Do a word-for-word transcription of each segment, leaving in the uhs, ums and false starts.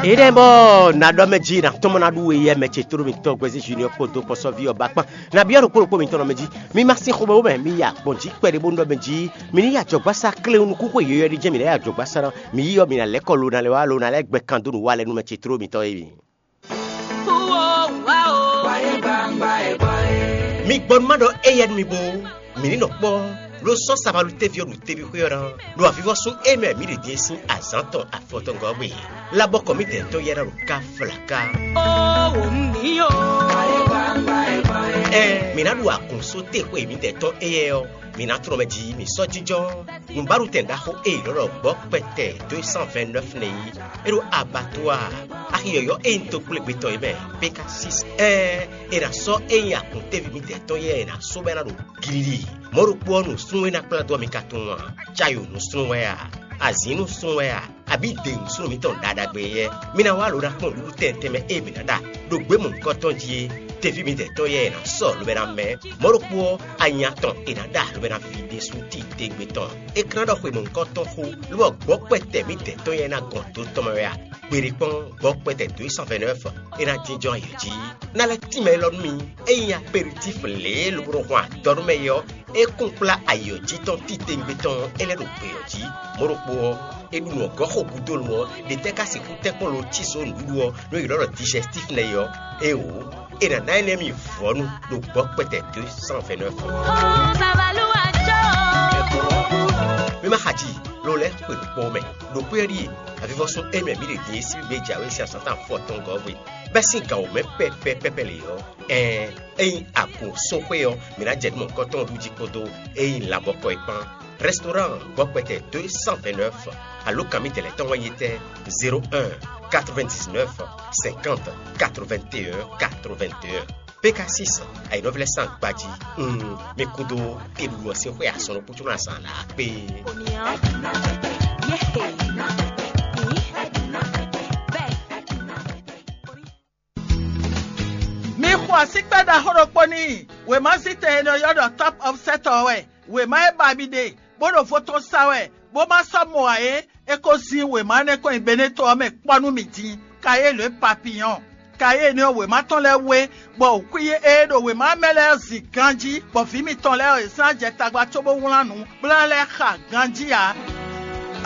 Éɖɛ́ bɔ nǎ ɖɔ mɛ jí nǎ tɔ́n mɔ ná ɖú we yɛ mɛ ce tló mitɔn Gwɛzí Junior kpódó kpɔsɔ́ví ɔ́ ba kpán. Nabí ɔ́ ɖo kpó ɖokpó mitɔn nɔ mɛ jí. Mi ma sín xomɛ wú mɛ, mi yi agbɔ̌n jí kpɛɖé bónú ɖɔ mɛ jí. Mi ní yi ajɔ̌gbásá kléwún nukúnxwe yɔ̌yɔ́ ɖé jɛ́n mi ná yi ajɔ̌gbásá ná. Mi yi ɔ́, mi ná lɛ́ kɔ lo ná lɛ́ wá lo ná lɛ́ gbɛ kan dó nǔ wa lɛ́ɛ nú mɛ ce tló mitɔn é mi. Mi gbɔ nú má ɖɔ éyɛ́ nú mi bó, mǐ ní nɔ kpɔ́, ló sɔ́ sabalú téví ɔ́ ɖo teví xwé ɔ́ ná, ɖo avivɔ́sún e mɛ mǐ ɖe din é sín azǎn tɔn afɔtɔngɔ́ gbe. Labɔkɔ mǐdɛɛ tɔn yɛ́ ná ɖo ká flaká. Ó wǒ nú mǐ ó. Ɛn mǐ ná ɖu agun só te xwe mǐdɛɛ tɔn éyɛ́ ɔ́, mǐ ná tlɔ́n mɛ jí mǐ sɔ́ jínjɔ́n. Nǔbáɖutɛn ɖaxó e è nɔ ɖɔ gbɔ̌ kpɛtɛ deux cent vingt-neuf nɛ́ yí, é ɖo abattoir axi yɔ̌yɔ́ e nyí tokplégbé tɔn é mɛ, Pékasis. Ɛɛn, è nǎ sɔ́ é nyí akun téví mǐdɛɛ tɔn yɛ́ è nǎ só bɔ é ná ɖo gilili. Mɔ̌ ɖokpó ɔ́, nǔsúnnú e ná kplá dó ɔ́, mi ka tunwun a? Cayo nǔsúnnú wɛ a? Azǐn nǔsúnnú wɛ a? Abǐ de nǔsúnnú mǐtɔn ɖaɖagbe yɛ́? Mi ná wá lo ná kpɔ́n nǔɖuɖu tɛnmɛ tɛnmɛ e mǐ ná ɖa ɖo gběmɔ̌ nukɔn tɔn jí é. Teví mǐdɛɛ tɔn yɛ́ è nǎ sɔ́ lobɛ ná mɛ. Mɔ̌ ɖokpó ɔ́, anya tɔn è nǎ ɖa lobɛ ná ví ɖésú titewungbe tɔn. É ka ná ɖɔ xwe mɔ̌hunkɔtɔn xó, lobɔ gbɔ̌ kpɛtɛ mǐdɛɛ tɔn yɛ́ ná gɔn do tɔn mɛ wɛ a? Gbeɖé kpɔ́n, gbɔ̌ kpɛtɛ dǒ e sɔ́ vɛ̌ nɛ́ fɔ é ná jínjɔ́n ayǐ jí. Ná lɛ́ tínmɛ élɔ́ nú mi, é nyí aperitíf lě e lobo nɔ hwan adɔ nú mɛ é ɔ́, é kún kplá ayǐ ɔ́ jí tɔn titewungbe tɔn ɔ́, é lɛ́ ɖo gbě ɔ́ jí. Mɔ̌ ɖokpó ɔ́, è ɖu nǔ ɔ́ gɔ́ xo gúdo lo ɔ́, ɖě tɛ́ ka sixú tɛ́ kpɔ́n lo cí zǒ nǔɖuɖu ɔ́, nú è ylɔ́ ɖɔ dijɛstíf nɛ́ é ɔ́? Éeǒ, è nǎ ná énɛ́ mi vɔ̌nu ɖo gbɔ̌ kpɛtɛ dó cent vingt-neuf. Mi ma xa ji, lo lɛ́ xwe ɖo kpɔ́ mɛ. Ɖo xwé ɔ́ ɖíe, avivɔ́sún e mɛ mǐ ɖe din e sín gbé jǎwe sín azǎn tɔn afɔtɔngɔ́ hwe, bɛ́ sín gǎn wǒ mɛ pɛpɛ pɛpɛ lě ɔ́, ɛɛn, ényí agun sóxwé ɔ́, mǐ ná jɛ nǔ mɔ̌hunkɔtɔn ɖu jí kpódó ényí labɔkɔ é kpán. Restaurant gbɔkpɛtɛ deux cent vingt-neuf, alǒkan mǐtɛn lɛ́ɛ tɔn wɛ nyí tɛ́: zéro un, quatre-vingt-dix-neuf, cinquante, quatre-vingt-un, quatre-vingt-un. P K six, ayǐnɔ́ví lɛ́ɛ sín agbají. Un, mi kúdó teɖuɖu ɔ́ sín xwé asɔn ɖokpó có ná zǎn lǎ kpé. Mi xo asíkpɛ́ ɖaxó ɖokpó n'i. Wěmazítɛn e nɔ ylɔ́ ɖɔ Top Offset ɔ́ wɛ. Wěma e ba mi ɖe, bó ɖo vo tɔn sa wɛ, bó ma sɔ́ mɔ ǎ é, é ko zín wěma énɛ́ kɔn nyi Beneto ɔ́ mɛ kpɔ́ nú mi din. Kayélo e papiyɔn. Kayélo ɔ́, wěma tɔn lɛ́ɛ wé, bɔ wǔkwín e ɖo wěma ɔ́ mɛ lɛ́ɛ zin ganjí, bɔ vǐ mitɔn lɛ́ɛ ɔ́, yě sɔ́ ná jɛ tagba cóbó wlán nǔ, bó ná lɛ́ xa ganjí ǎ.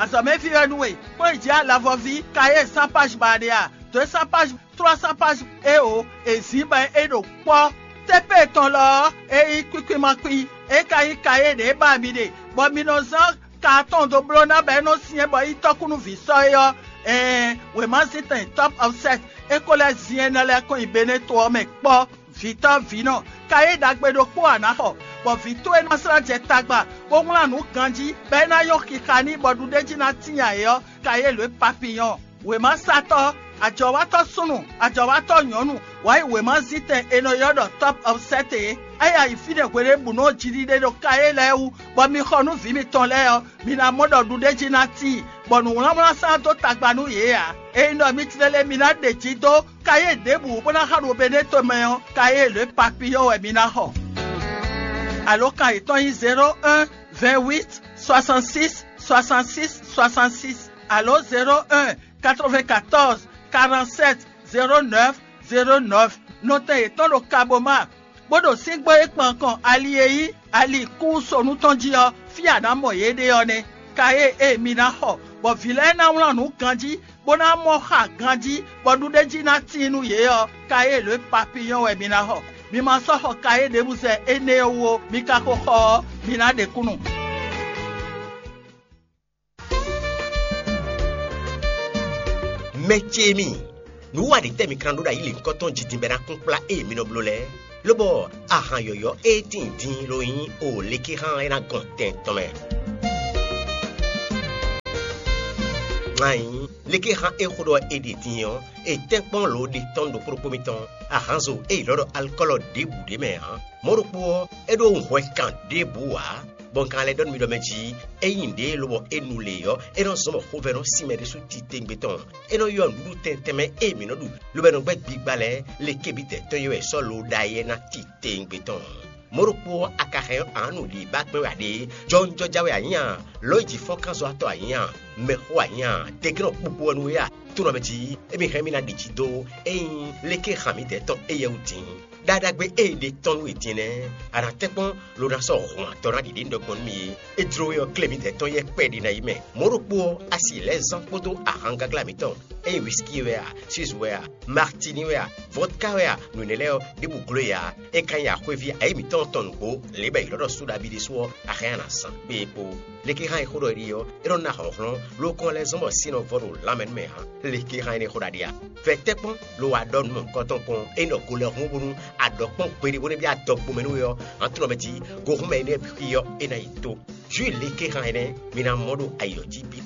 Azɔ̌mɛví wɛ nú we, kplɔ́n yi jǐ alavɔví, kayé sán páj ba ɖe a? Dǒ e sán páj trois cents pages é o, è zǐn bɔ é ɖo kpɔ́. Tépée tɔn lɔ ɔ́, é nyí kwíkwímakwín, é ka nyí kayé ɖě ba mi ɖe, bɔ mi nɔ zán ka atɔn dó bló ná bɔ é nɔ syɛ́n bɔ é nyí tɔ́kúnúví sɔ́ é ɔ́, ɛɛn, wěmazíntɛn Top Offset é ko lɛ́ zin énɛ́ lɛ́ɛ kɔn nyi Beneto ɔ́ mɛ kpɔ́. Vǐtɔ́ vǐnɔ, kayé ɖagbe ɖokpó a nǎ xɔ, bɔ vǐ towe ná slá jɛ tagba, bó wlán nǔ ganjí, bɔ é ná nyɔ́ xixa n'i bɔ ɖuɖéjí ná tíin ayǐ ɔ́, kayé lǒ e papiyɔn. Wěmasatɔ́, ajɔ̌watɔ́ súnnu, ajɔ̌watɔ́ nyɔ̌nu, wǎ yi wěmazítɛn è nɔ ylɔ́ ɖɔ Top Offset é. É yi ayǐ fínɛ́ hweɖěbǔnu ɔ́ jiɖiɖe ɖo kayé lɛ́ɛ wú, bɔ mi xɔ nú vǐ mitɔn lɛ́ɛ ɔ́, mi ná mɔ ɖɔ ɖuɖéjí ná tíin, bɔ nǔwlánwlán sán dó tagba nú yě ǎ. Ényí ɖɔ mi tlélé mi ná ɖe jí dó kayé ɖěbǔ bó ná xa ɖo Beneto mɛ ɔ́, kayé lě papiyɔ́ wɛ mi ná xɔ. Alǒkan yětɔn nyí zéro un, vingt-huit, soixante-six, soixante-six, soixante-six, alo zéro un, quatre-vingt-quatorze, quarante-sept, zéro neuf, zéro neuf. Nɔtɛn yětɔn ɖo Kaboma, bó ɖo síngbó e kpan kɔn ali e nyí ali kúsonu tɔn jí ɔ́, fí a nǎ mɔ yě ɖe ɔ́ nɛ́. Kayé e mi ná xɔ, bɔ vǐ lɛ́ɛ ná wlán nǔ ganjí, bó ná mɔ xa ganjí, bɔ ɖuɖéjí ná tíin nú yě ɔ́, kayé lě papiyɔ́ wɛ mi ná xɔ. Mi ma sɔ́ xɔ kayé ɖěbǔ zɛ énɛ́ ɔ́ wú ó, mi ka ko xɔ ɔ́, mi ná ɖe kúnnu. Mɛ ce mi, nǔ wa ɖě tɛ́ mi kan ɖó ɖo ayǐ lěhunkɔtɔn jí din bɔ é ná kún kplá ée mi nɔ bló lɛ́ɛ? Lobɔ ahan yɔ̌yɔ́ e tíin din lo nyí o lekéhan e ná gɔn tɛn tɔn mɛ. Ŋa nyí lekéhan e xó ɖɔ è ɖe din ɔ́, è tɛ́nkpɔ́n lǒ ɖe tɔn ɖokpó ɖokpó mitɔn. Ahanzo e è ylɔ́ ɖɔ alikɔ́lɔ ɖěbǔ ɖ'é mɛ ǎ. Mɔ̌ ɖokpó ɔ́, é ɖó hwɛ kan ɖěbǔ ǎ, bɔ un ka lɛ́ ɖɔ nú mi ɖɔ mɛ jí, ényí nǔɖé lobɔ é nu lě ɔ́, é nɔ zɔ́n bɔ xovɛ́ nɔ sin mɛ ɖésú titewungbe tɔn. É nɔ ylɔ́ nǔɖuɖu tɛntɛn mɛ e mǐ nɔ ɖu, lobo nɔ gbɛ́ gbigba lɛ́ɛ, lekebítɛ́ tɔn e wɛ è sɔ́ lo ɖ'ayǐ ɔ́ ná titewungbe tɔn. Mɔ̌ ɖokpó ɔ́, a ka hɛn ɔ́, a nǎ nu lǐbá kpɛ́n wɛ a ɖe? Jɔwunjɔja wɛ a nyǐ a? Lɔ̌nyijǐ-fɔ́nkánzɔ́watɔ́ a nyǐ a? Mɛxó anyá, tɛ́nkɛ́nɔ kpukpu ɔ́ nú we a? Tónɔ mɛ jí, émí hɛn mì ná ɖi jí dó ényí léké han mǐdɛɛ tɔn éyɛ́ wú din. Ɖaɖagbe e è ɖe tɔn nú we din nɛ́, a nǎ tɛ́nkpɔ́n lo ná sɔ́ hɔn atɔ́ ná ɖiɖe nú ɖɔ gbɔn nú mì é. É jló we ɔ́, klé mǐdɛɛ tɔn yɛ́ kpɛɖé ná yi mɛ. Mɔ̌ ɖokpó ɔ́, a si lɛ̌ zán kpódó ahan gaglá mǐtɔn, ényí wisiki wɛ a, Suisse wɛ a, Martini wɛ a, vodka wɛ a, nǔ énɛ́ lɛ́ɛ ɔ́, ɖěbǔ gló e ǎ. É ka nyí axwéví ayǐ mǐtɔn tɔn nǔgbó, lě bɔ è ylɔ́ ɖɔ súɖabí ɖésú ɔ́, a hɛn a nǎ zán. Kpé e kpo. Léké hán e xó ɖɔ é ɖe ɔ́, é nɔ ná hlɔ̌nhlɔ́n, ló kɔn lɛ́ zɔ́n bɔ sin nɔ vɔ ɖo lanmɛ nú mɛ ǎ. Léké hán énɛ́ xó ɖaɖe a? Vɛ tɛ́ kpɔ́n, lo wa ɖɔ nǔ mɔ̌hunkɔtɔn kpɔn, é nɔ go lɛ́ hún bónú a ɖɔ kpɔ́n gbeɖé bó nɔ́ byɔ́ adɔgbomɛ nú we ɔ́, hǎn tlɔ́mɛ jí, gohúnmɛ énɛ́ bǐ xwí ɔ́, é ná yi tó. Jǔ léké hán énɛ́, mi ná mɔ ɖo ayǐ ɔ́ jí bǐ.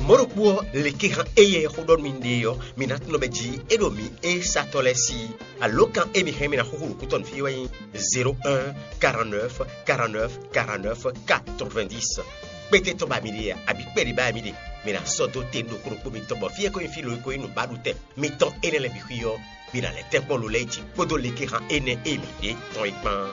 Mɔ̌ ɖokpó ɔ́, léké hán éyɛ́ xó ɖɔ nú mi ɖe ɔ́, mi ná tunɔ mɛ jí é ɖo mǐ é satɔ́ lɛ́ɛ sí. Alǒkan e mi hɛn mi ná xúxú ɖo kútɔ́ nú fí wɛ nyí zéro un, quarante-neuf, quarante-neuf, quarante-neuf, quatre-vingt-dix. Kpéte tɔn ba mi ɖe a, abǐ kpɛɖé ba mi ɖe? Mi ná sɔ́ dó te ɖokpó ɖokpó mitɔn bɔ fí e ko nyí fí lo e ko nyí nǔbaɖutɛn mitɔn énɛ́ lɛ́ɛ bǐ xwí ɔ́, mi ná lɛ́ tɛ́nkpɔ́n lo lɛ́ɛ jí kpódó léké hán énɛ́ e mi ɖe tɔn é kpán.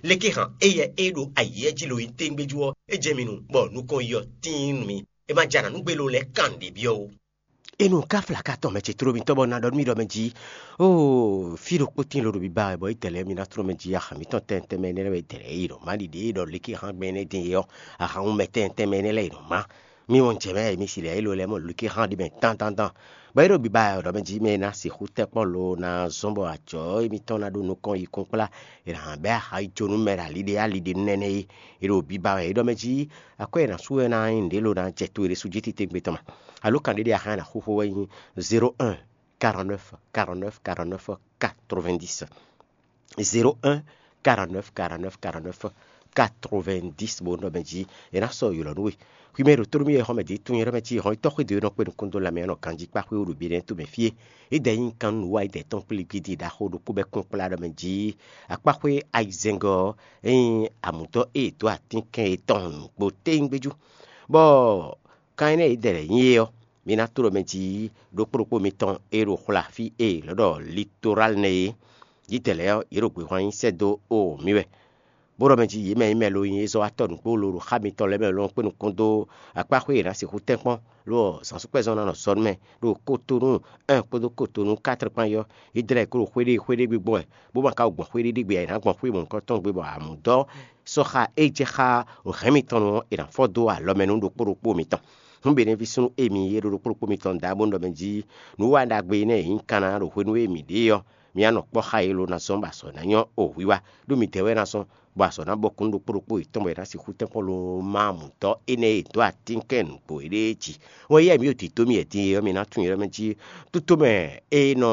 Léké hán éyɛ́ e ɖo ayǐ jí lo nyí téŋgbéjú ɔ́, é jɛ mi nu, bɔ nukɔn yi ɔ́ tíin nú mi. É ma jɛ anǎ nú gbé lo lɛ́ɛ kan nǔɖé byɔ́ ó. Enu ka fla ka tɔn mɛ ce tló mitɔn bɔ na ɖɔ nú mi ɖɔ mɛ jí, oo, fí ɖokpó tín lo ɖo biba wɛ bɔ é tɛlɛ mi ná tló mɛ jí, axǎn mǐtɔn tɛntɛn mɛ énɛ́ lɛ́ɛ wɛ tɛlɛ é ɖɔ má ɖiɖe é ɖɔ léké hán gbɛn énɛ́ din é ɔ́, axǎn mɛ tɛntɛn mɛ énɛ́ lɛ́ɛ é ɖɔ má. Mi mɔ jɛ mɛ mi si lɛ é lo lɛ́ɛ mɔ léké hán ɖi mɛ tántántán. Bɔ é ɖo biba wɛ ɖɔ mɛ jí mɛ ná sixú tɛ́ kpɔ́n lo ná zɔ́n bɔ ajɔ̌ émítɔn ná ɖó nukɔn yi kún kplá, è nǎ bɛ́ axayijónú mɛ ɖo ali ɖé ali ɖé nú nɛnɛ é. É ɖo biba wɛ é ɖɔ mɛ jí, akwɛ́ e è nǎ sú wɛ ná nyí nǔɖé lo ná jɛ to e ɖésú jí titewungbe tɔn mɛ. Alo kan ɖé ɖé axán e a nǎ xúxú wɛ nyí zéro un, quarante-neuf, quarante-neuf, quarante-neuf, quatre-vingt-dix. Zéro un, quarante-neuf, quarante-neuf, quarante-neuf, quatre-vingt-dix bó nɔ mɛ jí è nǎ sɔ́ ylɔ̌ nú we. Hwi mɛ e ɖo tónú mì wɛ xɔ́mɛ ɖě tunwun ylɔ́ mɛ cí hɔn yi tɔ́ xwé dó e nɔ kpé nukúnnú dó lanmɛ ɔ́ nɔ ganjí kpá xwé wú ɖo biɖɛ́ tomɛ fí é. É dɛ nyí kan nú nǔ wa yi dɛ tɔn kplí gidi ɖaxó ɖokpó bɛ́ kún kplá ɖɔ mɛ jí akpáxwé ayizɛ́ngɔ́ ɔ́, é nyí amǔtɔ́ e è dǒ atínkɛn yětɔn nǔgbó téŋgbéjú. Bɔ kan énɛ́ e dɛ lɛ̌ nyí é ɔ́, mi ná tló mɛ jí ɖokpó ɖokpó mitɔn e ɖo xwla fí e è nɔ ɖɔ Litoral nɛ́ é. Yǐdɛɛ lɛ́ɛ ɔ́, yě ɖo gběhwan nyi sɛ́ dó o mǐ wɛ. Bó ɖɔ mɛ jí yě mɛ nyí mɛ lo nyi é zɔ́ wá tɔ́ nǔgbó lo ɖo xá mitɔn lɛ́ɛ mɛ lɔn kpé nukún dó akpá xwé e è nǎ sixú tɛ́nkpɔ́n, lo ɔ́, zǎnsúkpɛ́zɔn ná nɔ zɔ nú mɛ ɖo Kotonu un kpódó Kotonu kátr kpán yi ɔ́, Yídɛlɛ́ɛ ko ɖo xwé ɖé xwé ɖé gbe gbɔn wɛ, bó ma ka gbɔn xwé ɖé ɖé gbe ǎ, è nǎ gbɔn xwé mɔ̌hunkɔtɔn gbe bɔ amǔdɔ́ sɔ́ xa é jɛ xá hɛ̌n mitɔn nu ɔ́, è nǎ fɔ dó alɔ mɛ nú ɖokpó ɖokpó mitɔn. Hǔn Benɛvísúnú e mi e ɖo ɖokpó ɖokpó mitɔn da bó nɔ ɖɔ mɛ jí nǔ wa ɖagbe énɛ́ e nyí kanna ɖo hwenu e mǐ ɖe é ɔ́, mi wá nɔ kpɔ́ xá yě lo ná zɔ́n bɔ azɔ̌ ná nyɔ́ o hwiwa, ɖó midɛɛ wɛ ná zɔ́n, bɔ azɔ̌ ná bɔkun nú ɖokpó ɖokpó yětɔn bɔ è nǎ sixú tɛ́nkpɔ́n lo má mǔtɔ́ énɛ́ e è dǒ atínkɛn nǔgbó éɖée jí. Wɛn yɛ́ mǐ ɖo dǐdó mì wɛ din é ɔ́, mi ná tunwun yě mɛ jí tótomɛ e nɔ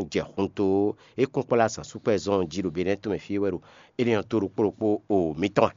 jɛ hun dó é kún kplá zǎnsúkpɛ́ zɔn jí ɖo Benɛ́ tomɛ fí é wɛ ɖo énɛ́ ɔ́ tó ɖokpó ɖokpó o mǐtɔn.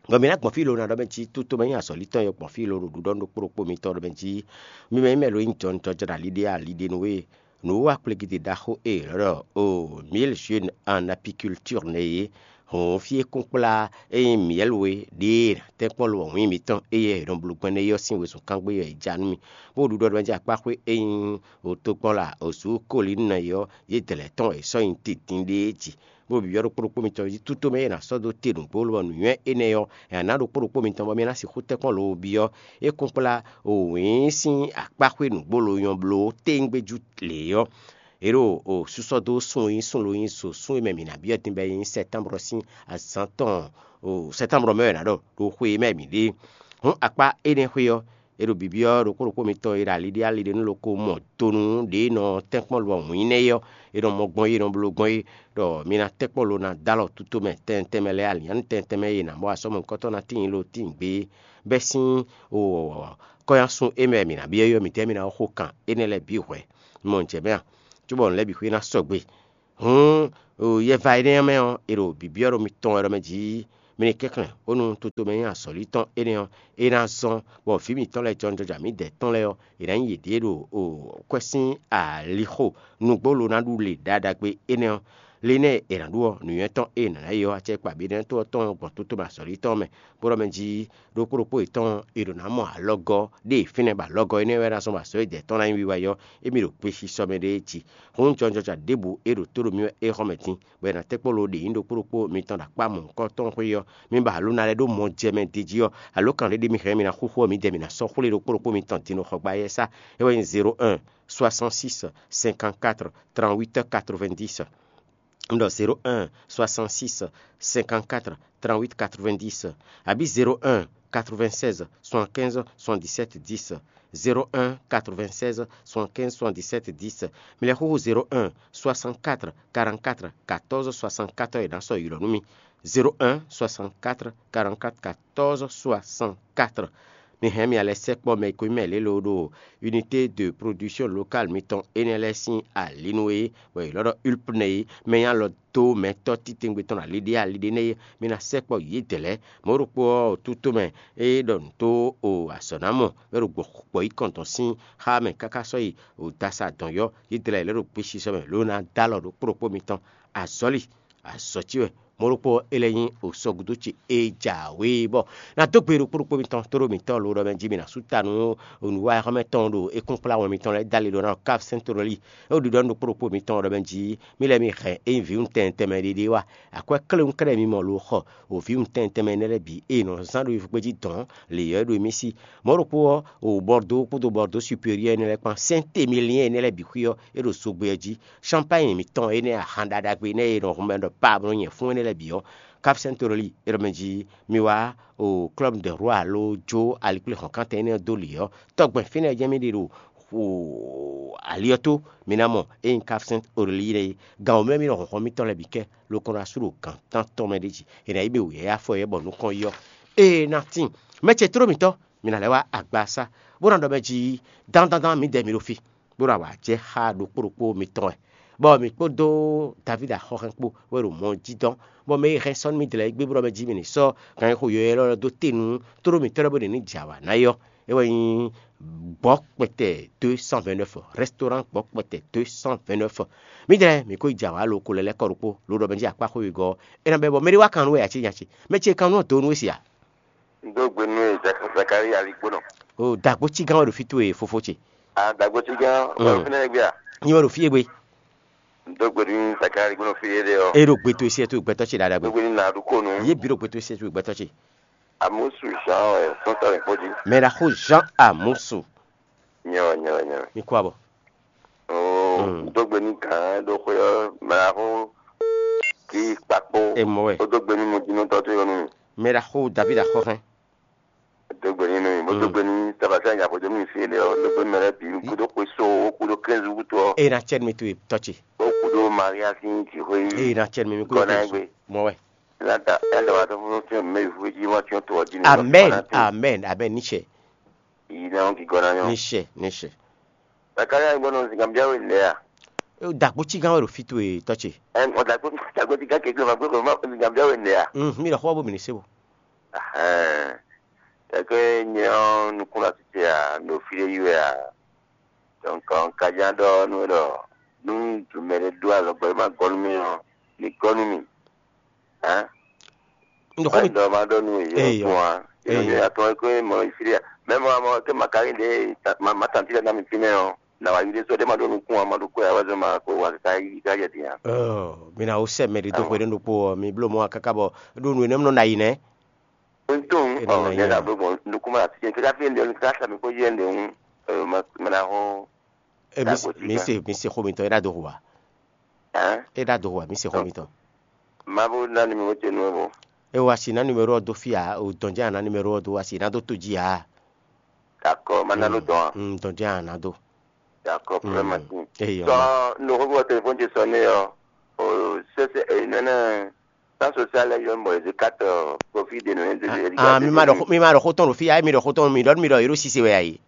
Bɔ mǐ ná gbɔn fí lo ná ɖɔ mɛ jí tótomɛ nyí azɔ̌lítɔn e gbɔn fí lo ɖo ɖuɖɔ ɖokpó ɖokpó mitɔn ɖɔ mɛ jí mi mɛ nyí mɛ lo nyí jɔnjɔjɔ́ ɖo ali ɖé ali ɖé nú we. Nǔwiwa kplégídé ɖaxó e è nɔ ɖɔ o mille jeunes en apiculture nɛ́ é, hɔn fí e kún kplá e nyí miyɛ́lu e ɖě e tɛ́nkpɔ́n lo wɔ̌n nyi mǐtɔn éyɛ́ è nɔ bló gbɛn nɛ́ é ɔ́ sín wezun kángbé ɔ́ è ja nú mì, bó ɖuɖɔ ɖɔ mɛ jí akpáxwé e nyí òtogbɔ́la òzú kólinú nɛ́ é ɔ́, yě dlɛ̌ tɔn è sɔ́ nyi tedin ɖéé jí. Bó byɔ́ ɖokpó ɖokpó mitɔn jí tútó mɛ e è nǎ sɔ́ dó te nǔgbó lobɔ nǔnywɛ́ énɛ́ ɔ́, è nǎ ɖokpó ɖokpó mitɔn bɔ mi ná sixú tɛ́nkpɔ́n lo byɔ́. É kún kplá wǐin sín akpáxwé nǔgbó lo nyɔ́ bló téńgbéjú lě ɔ́, è ɖo o súsɔ́ dó sún e nyí sún lo nyí zo sún e mɛ mǐ ná byɔ́ din bɔ é nyí sɛtánbrɔ sín azǎn tɔn o sɛtánbrɔ mɛ wɛ è nǎ ɖɔ ɖo xwe e mɛ mǐ ɖe é. Hǔn akpá énɛ́ xwé ɔ́, è ɖo bǐbyɔ́ ɖokpó ɖokpó mitɔn e ɖo ali ɖé ali ɖé nú loko mɔ donu ɖě e nɔ tɛ́nkpɔ́n lɔ wǐin nɛ́ é ɔ́, è nɔ mɔ gbɔn é, è nɔ bló gbɔn é, ɖɔ mi ná tɛ́nkpɔ́n lo ná dó alɔ tútomɛ tɛntɛnmɛ lɛ́ɛ, alǐnnyánú tɛntɛnmɛ e è nǎ mɔ asɔ́mɔ̌kɔ́tɔn ná tíin lo tíin gbé bɛ́ sín kɔ́nyásun e mɛ mǐ ná byɔ́ é ɔ́, mǐtɛ́ mi ná xo kan énɛ́ lɛ́ɛ bǐ hwɛ̌? Un mɔ nǔ jɛ mɛ a? Cóbɔ nǔ lɛ́ɛ bǐ xwé ná sɔgbe. Hǔn, yɛva énɛ́ ɔ́ mɛ ɔ́, è ɖo bǐbyɔ́ ɖo mitɔn wɛ ɖɔ mɛ jí mi ní kɛnklɛ́n bónú toto mɛ nyí azɔ̌li tɔn énɛ́ ɔ́, é ná zɔ́n, bɔ vǐ mǐtɔn lɛ́ɛ jɔnjɔja mǐdɛɛ tɔn lɛ́ɛ ɔ́, è nǎ nyi yěɖée ɖo kwɛ́ sín alixo nǔgbó lo ná ɖu le ɖaɖagbe énɛ́ ɔ́, Linɛ́ɛ e è nǎ ɖu ɔ́, nǔnywɛ́ tɔn e è nǎ ná yi ɔ́, acɛkpa Benɛ́ɛto ɔ́ tɔn gbɔn tó tɔn mɛ azɔ̌li tɔn mɛ, bó ɖɔ mɛ jí ɖokpó ɖokpó yětɔn è ɖǒ ná mɔ alɔgɔ́ ɖé e fínɛ́ bɔ alɔgɔ́ énɛ́ wɛ ná zɔ́n bɔ azɔ̌ e dɛ̌ tɔn ná nyí wiwa é ɔ́, émí ɖo gbesisɔ mɛ ɖé jí. Hǔn jɔnjɔja ɖěbǔ e ɖo tó ɖo mì wɛ é xɔ mɛ din, bɔ è nǎ tɛ́ kpó lo ɖě nyí ɖokpó ɖokpó mitɔn ɖo akpá mɔ̌hunkɔtɔn xwé ɔ́, mi ba alǒ ná lɛ́ ɖó mɔ jɛ mɛ din jí ɔ́, alǒkan ɖé ɖé mi hɛn mi ná xúxú ɔ́, midɛɛ mi ná sɔ́ xwlé ɖokpó ɖokpó mitɔn din ɖo xɔgbá éyɛ́ sá. É wɛ nyí zéro un, soixante-six, cinquante-quatre, trente-huit, quatre-vingt-dix. Un ɖɔ zéro un, soixante-six, cinquante-quatre, trente-huit, quatre-vingt-dix, abǐ zéro un, quatre-vingt-seize, soixante-quinze, soixante-dix-sept, dix. Zéro un, quatre-vingt-seize, soixante-quinze, soixante-dix-sept, dix. Mi lɛ́ xúxú zéro un, soixante-quatre, quarante-quatre, quatorze, soixante-quatre e ná sɔ́ ylɔ́ nú mì. Zéro un, soixante-quatre, quarante-quatre, quatorze, soixante-quatre. Mi hɛn mi alɛ sɛkpɔ́ mɛ e ko nyí mɛ lě loo ɖo unité de production locale mitɔn énɛ́ lɛ́ɛ sín ali nú é, bɔ è ylɔ́ ɖɔ Ulpne é, mɛ nyí alɔ dó mɛtɔ́ titewungbe tɔn ali ɖé ali ɖé nɛ́ é, mi ná sɛkpɔ́ yědɛɛ lɛ́ɛ. Mɔ̌ ɖokpó ɔ́, otutomɛ e ɖɔ nǔ tó o azɔ̌ ná mɔ, bɔ é ɖo gbɔ gbɔ yi kɔn tɔn sín xá mɛ káká sɔ́ yi o dasa dɔn yɔ́, yědɛɛ lɛ́ɛ ɖo gbesisɔ mɛ ló ná dó alɔ ɖokpó ɖokpó mitɔn. Azɔ̌li, azɔ̌ ce wɛ. Mɔ̌ ɖokpó ɔ́, é lɛ́ nyí osɔ́gúdo ce e jǎwe bɔ ná dó gbe ɖokpó ɖokpó mitɔn tóɖó mǐtɔn lo ɖɔ mɛ jí mi ná sú ta nú nǔwiwa xɔ́mɛ tɔn ɖo é kún kplá wɛn mitɔn lɛ́ɛ dó ali ɖó ná ɖo Cap Saint Tori. É ɖiɖɔ nú ɖokpó ɖokpó mitɔn ɖɔ mɛ jí mì lɛ́ mi hɛn é nyí vǐwun tɛnmɛ tɛnmɛ ɖé ɖé wá. Akwɛ́ kléwún kɛ́ɖɛ́ mi mɔ lo xɔ o vǐwun tɛnmɛ tɛnmɛ énɛ́ lɛ́ɛ bǐ e è nɔ zán ɖo yovógbéjí dɔ̌n lě ɔ́ é ɖo émí sí. Mɔ̌ ɖokpó ɔ́, o Bɔrdó kpódó Bɔrdó Superiɔ́ énɛ́ lɛ́ɛ kpán Sɛ́ntemiliɛ́n énɛ́ lɛ́ɛ bǐ xwí ɔ́, é ɖo zogbɛ ɔ́ jí. Champagne mǐtɔn énɛ́ ahan ɖaɖagbe énɛ́ e è nɔ hun mɛ ɖɔ paa bó nɔ́ nyɛ fún énɛ́ lɛ́ɛ bǐ ɔ́, Cap Saint Tori é ɖɔ mɛ jí mi wá o Club de Roi ló jó alikpléhɔ̌nkántɛn énɛ́ ɔ́ dó lě ɔ́, tɔgbɛn fínɛ́ jɛ́n mì ɖe ɖo ali ɔ́ tó, mi ná mɔ ényí Cap Saint Tori é. Gǎn wǒ mɛ mì nɔ hɔnhɔn mitɔn lɛ́ɛ bǐ kɛ, lokɔn ɖo asú ɖo gǎn tántɔn mɛ ɖé jí. È nǎ yi ɖe wǔyá yá afɔ yɛ bɔ nukɔn yi ɔ́, ée ná tíin. Mɛ ce tló mǐtɔn, mi ná lɛ́ wá agbaza, bó ná ɖɔ mɛ jí dándándán mǐdɛɛ mi ɖo fí, bó ɖo awǎ jɛ xá ɖokpó ɖokpó mitɔn wɛ, bɔ mǐ kpódó Davídi axɔ́hɛn kpó wɛ ɖo mɔ jí dɔn, bɔ mɛ e hɛn sɔ́ nú mì dlɛ́ gbé bó ɖɔ mɛ jí mi ní sɔ́ ganxixo yɔ̌yɔ́ élɔ́ dó te nú tló mǐtɔn lɛ́ɛ bó ɖě ní jɛ awǎ ná é ɔ́, é wɛ nyí gbɔ̌ kpɛtɛ deux cent vingt-neuf, restaurant gbɔ̌ kpɛtɛ deux cent vingt-neuf. Mǐdɛɛ mǐ ko yi jɛ awǎ lo ko lɛ́ lɛ́ kɔ ɖokpó, lo ɖɔ mɛ jí akpá xwé wegɔ́ ɔ́, é ná bɛ́ bɔ mɛ ɖé wá kan nú wɛ ǎ cé nya ce? Mɛ ce kan nú ɔ́ dǒ nú we se ǎ. Un dó gbe nú Zaka- Zakari aligbónɔ. O dǎgbó cí gán wɛ ɖo fí towe fofó ce. A dǎgbó cí gán wɛ Mm. Fínɛ́ gbé a? Nyi wɛ ɖo fí e gbe. Un dó gbe nú Zakari aligbónɔ fí éɖé ɔ́. E ɖo gbe towe siɛ towe gbɛtɔ́ ce ɖaɖa Un dó gbe. Gbe nú Naɖukónu. Yé bǐ ɖo gbe towe siɛ towe gbɛtɔ́ ce. Amusu Jean wɛ sɔ́nsɔ́ lɛ̌ngbó jí. Mɛ ɖaxó Jean Amusu. Nyɛ wɛ, nyɛ wɛ, nyɛ wɛ. Mi kú abɔ. Oo, Mm. Un dó gbe nú gǎn ɖo xwé ɔ́, mɛ ɖaxó kí kpakpó. E mɔ wɛ. Ó dó gbe nú nujínútɔ́ towe ɔ́ nú mì. Mɛ ɖaxó David axɔ́hɛn. Dó gbe nínú mi, bó dó Mm. Gbe ní Tabasá nya xwedó mi fí ɖé ɔ́, dó gbe mɛ lɛ́ɛ bǐ, kúdó xwe so, ó kúdó kɛ́nzu wútu ɔ́, Eye na cɛ mi to tɔ ce. Ó kúdó Maria sín jǐxwé yí. Eye na cɛ mi mi kúdó Gɔ́ ná kɛ gbé. Mɔ wɛ. Ná da ɛ dɔ wa tó fún tí mɛ yìí fún jí wá tí wọ́n tó ɔ́ jí nìyí. Amen, amen, amen. Ní sɛ, Yìí náà ń kíkọ́ náà yán. Ní sɛ, ní sɛ. Bàkárẹ́ àgbọ̀nà sìgá bí jáwé lẹ́yà. Dàgbò tí gán wẹ̀ ló fi tó e tɔ ce. Ɛ ɔ̀dàgbò dàgbò tí gán kékeré ma gbé kò má sìgá bí jáwé lẹ́yà. Mi lọ xɔ bó mi ní se bó. Ɛhɛn. Kɛkɛ nyɛ ɔ́ nukún la tete a, no fi ɖé yi wɛ a. Donc, ɔn, kajá ɖɔ nú ɖɔ nú dumɛ ɖé ɖó alɔgbɔ e ma gɔ́ nú mì ɔ́, ní gɔ́ nú mì. Hɛn? Ndo xɔ mi. Ɖɔ ma ɖɔ nú yě Eyɔ. Kún a. Eyɔ. Yě atɔ ko mɔ fi ɖé. Mɛ mɔ mɔ ke ma ka yi ɖe ma ma tanti ɖe na mi fínɛ ɔ́. Na wa yi ɖe sɔ ɖe ma ɖo nukún a, ma ɖo kó ya wá zɔ ma ko wa ka yi ka yɛ din a. Ɔ, mi na wo sɛ mɛ ɖi do xwe ɖe ɖokpo ɔ, mi blo mɔ kaka bɔ ɖo nu enɛ nɔ na yi nɛ. Ntun ɔ ne na blo mɔ nukún ma ti ke ka fi ndé ka sa mi ko yɛ ndé ŋu. Ɔ, ma ma na ho. E mi se mi se xo mi tɔ e ɖa do ho wa. Hɛn? E ɖa do ho wa mi se xo mi tɔ. Ma bo na numéro ce nu bo. E wa si na numéro ɔ do fi a, o dɔn jɛ a na numéro ɔ do wa si na do to ji a. D'accord, ma na lo dɔn a. Mm, dɔn jɛ a na do. D'accord, problème ma tin. Eyɔ. Tɔ no ko téléphone ce sonné ɔ. O sese e nene. Tan social lɛ yɔ mɔ e kat profit de no e de. Ah, mi ma ɖɔ mi ma ɖɔ xotɔn ɖo fi a, mi ɖɔ xotɔn mi ɖɔ mi ɖɔ yero sise wɛ ayi.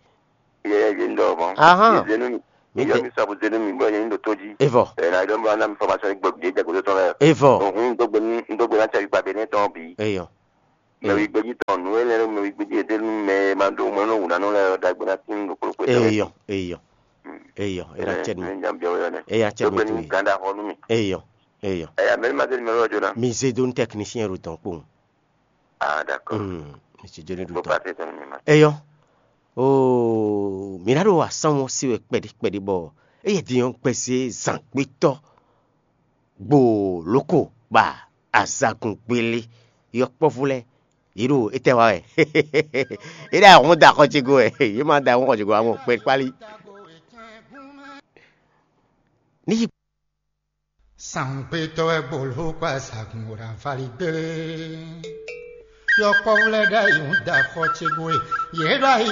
Yɛ yɛ yɛ ndɔ mɔ. Ahan. Zenu mi. Mi yɔ mi sabu zenu mi bɔ yɛ ndo toji. Evɔ. E na yɔ mɔ na mi formation gbɔ de jago tɔn lɛ. Evɔ. Ohun ndo gbɛ ndo gbɛ na cha gba bene tɔn bi. Eyɔ. Mɛ wi gbeji tɔn nu ele mɛ wi gbeji ede nu mɛ ma do mɛ no wuna no lɛ da gbɛ na tin do klo klo. Eyɔ, eyɔ. Eyɔ, era cɛ mi. Eya cɛ mi tu. Ganda hɔ nu mi. Eyɔ. Eyɔ. Ɛ amɛli ma zé numéro ɔ́ jó ná. Mi zé dó nú technicien ɖo dɔn kpowun. Ah, d'accord. Hmm, mi zé dó nú ɖo dɔn. Passé ton numéro. Eyɔ. Oo, mi ná ɖo asán ɔ́ se wɛ kpɛɖí kpɛɖí bɔ eye din ɔ́ gbɛzé zǎngbétɔ́ gbo lóko ba azagun gbélé yɔkpɔ́vú lɛ́ɛ yě ɖo étɛ́ wa wɛ. Yě ɖo ahɔn da xɔ ce go wɛ. Yě ma da ahɔn xɔ ce go amɔ kpɛ kpálí. Ní yi Sàngbétɔ́ wɛ gboló kɔ azǎgun ɖo avali gbélé. Yɔkpɔ́vú lɛ́ɛ ɖ'ayǐ ń da xɔ ce gbe. Yě ɖ'ayǐ